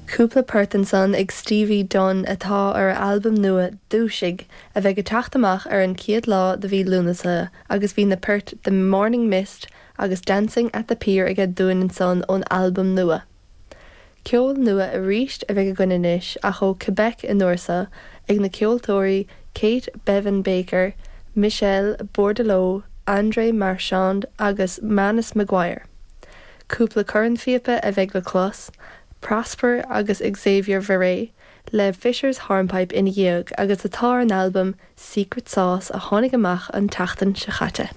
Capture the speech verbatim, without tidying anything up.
Cúpla port ansan ag Stevie Dunn atá ar a albam nua Dúisigh a bheidh ag teacht amach ar an chéad lá de mhí Lúnasa agus bhí na poirt The Morning Mist agus Dancing at the Pier aige dúinn ansan ón albam nua. Ceol nua arís a bheidh againn anois ach ó Quebec an uair seo ag na ceoltóirí Kate Bevan Baker, Michel Bordeleau, André Marchand agus Manus McGuire. Cúpla cornphíopa a bheidh le clos, Prosper agus Xavier Verret le Fisher's Hornpipe ina dhiaidh agus atá ar an albam Secret Sauce a tháinig amach an tseachtain seo caite.